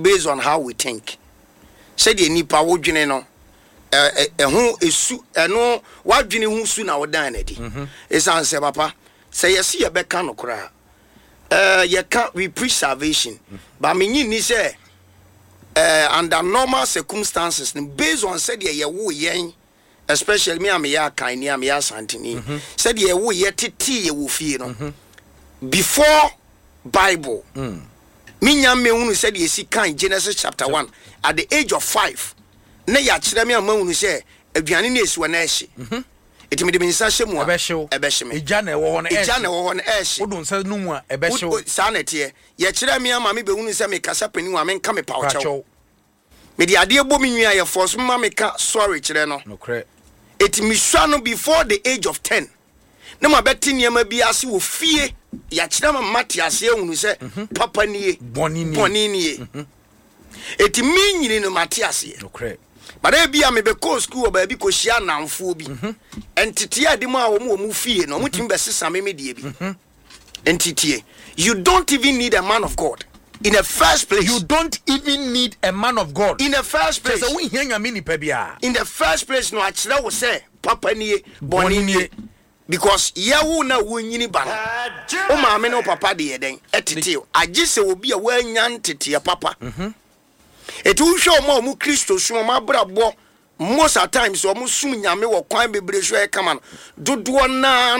Based on how we think, sɛdeɛ nipa wodwene no, ɛho esu, ɛno wadwene ho su na wodan n'adi. Ɛsiane sɛ, papa, sɛ yɛsi yɛbɛka no koraa, yɛka we preach salvation, but menyi ni sɛ under normal circumstances no, based on sɛdeɛ yɛwo yɛn, especially me a meyɛ Akanni a meyɛ Asanteni, sɛdeɛ yɛwo yɛ tetee yɛ wɔ fie no, before Bible, menya mmɛhunu sɛdeɛ ɛsi kan Genesis chapter 1 at the age of 5 na yɛakyerɛ me a mahunu sɛ aduane no ɛsi wɔ na ɛhye, ɛti mede me nsa hyɛ mu a, ɛbɛhyew. Ɛbɛhye me. Egya na ɛwɔ hɔ no. Ɛgya na ɛwɔ hɔ no ɛhye. Wode nsa no mu a, ɛbɛhyew. Saa na ɛteɛ. Yɛkyerɛ me ama me bɛhunu sɛ mekasa panin a, menka me paw kyɛw. Pakyɛw. Mede adeɛ bɔ me nua, yɛfɔ so ma meka sorry kyerɛ no. Ɛti mesua no before the age of 10 na mabɛte nneɛma bi ase wɔ fie. Yɛakyerɛ ma mate aseɛ ahunu sɛ papa nie, bɔne nie. Bɔne nie. Ɛti me nyini no, mate aseɛ. But ebi a mebɛkɔɔ sukuu wɔ baabi kɔhyia anamfoɔ bi, nteteɛ a ɛde mu a wɔn wɔ mu fie no, wɔn tumi bɛsesa me deɛ bi. Nteteɛ, you don't even need a man of God in the first place. You don't even need a man of God in the first place. Kyerɛ sɛ wohia Nyame nipa biara. In the first place no, akyerɛ wo sɛ papa nie, bɔne bɔne nie. Nie. Because yɛwo na wonyini ba no, wo maame ne wo papa de yɛ dɛn ɛtete wo, agye sɛ obi a woanya nteteɛ papa. Ɛti wohwɛ ɔma a ɔmo Kristo som, ɔmo abrabɔ, most at times ɔmo som Nyame wɔ kwan bebree so, ɛyɛ kama no dodoɔ naa.